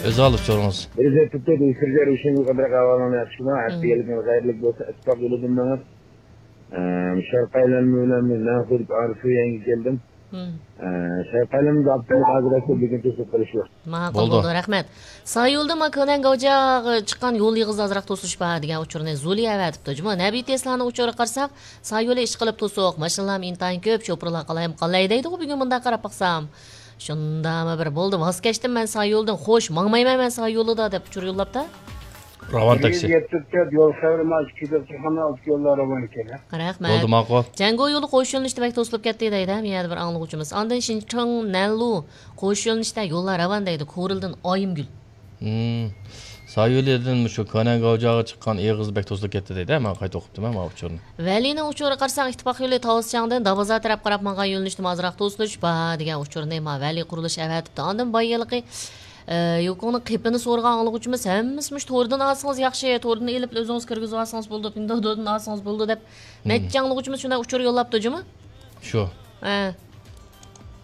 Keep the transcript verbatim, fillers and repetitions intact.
ئۆزى ئالىپ چورىڭىز. بىر زەپتە دېيىشىرجە رىشىڭىز قىدىرەك ئەھۋالىڭنى ياخشىما، ھەپتە يىلىڭىز خەيرلىك بولسا، ئىتتىپاق يولىدىن مېڭىڭ. ئە، شەرقىي ئايلانما بىلەن مەن خۇددى ئارسۇ يەنگە كەلدىم. ئە، شەرقىي ئايلانمىدا ئاپتوموبىل ھازىرلاشتۇرۇپ بۈگۈن توسۇپ قېلىش يوق. ماقۇل بولدى. بولدى، رەھمەت. سايولدىن ما كۆنەن گاۋجاغا چىققان يول ئېغىزىدا ئازراق توسۇلۇش بار دېگەن ئۇچۇرنى زۇلى ئەۋەتىپتۇ. جۇمۇ نەبى تېسلانىڭ ئۇچۇرىغا قارىساق، سايولى ئىشقىلىپ توسۇق، ماشىنىلارمۇ ئىنتايىن كۆپ، شوپۇرلار قالايمىقان دەيدىغۇ بۈگۈن مۇنداق قاراپ باقسام. شۇنداقمۇ بىر بولدى، ۋاز كەچتىم مەن سايولدىن، خوش، ماڭمايمەن مەن سايولىدا دەپ ئۇچۇر يوللاپتۇ. راۋان تاكسى. يەتتە تۆت يول خەۋىرى مانا ئىككى يۈز ئوتتۇز خانا ئالتە يوللار راۋان ئىكەن. رەھمەت. بولدى، ماقۇل. جەڭگو يولى قوش يۆنىلىشتە بەك توسۇلۇپ كەتتى دەيدۇ، ھە، يەنە بىر ئاڭلىغۇچىمىز. ئاندىن شىنچىڭ نەنلۇ قوش يۆنىلىشتە يوللار راۋان دەيدۇ، كورلىدىن ئايىمگۈل. ھىم. سايولىدىن مۇشۇ كۆنەن گاۋجاغا چىققان ئېغىز بەك توسۇلۇپ كەتتى دەيدۇ، ھە، مانا قايتا ئوقۇپتىمەن مانا ئۇچۇرنى. ۋەلىنىڭ ئۇچۇرىغا قارىساق، ئىتتىپاق يولى تاۋۇزچاڭدىن دابازار تەرەپ قاراپ ماڭغان يۆنىلىشتىمۇ ئازراق توسۇلۇش بار دېگەن ئۇچۇرنى ما ۋەلى قۇرۇلۇش ئەۋەتىپتۇ. ئاندىن بايىلىقى، ئە، يوكۇڭنىڭ قېپىنى سورىغان ئاڭلىغۇچىمىز ھەممىسى مۇشۇ توردىن ئالسىڭىز ياخشى، توردىن ئېلىپ ئۆزىڭىز كىرگۈزۈۋالسىڭىز بولىدۇ، پىندودىن ئالسىڭىز بولىدۇ دەپ نەچچە ئاڭلىغۇچىمىز شۇنداق ئۇچۇر يوللاپتۇ جۇمۇ. شۇ. ھە.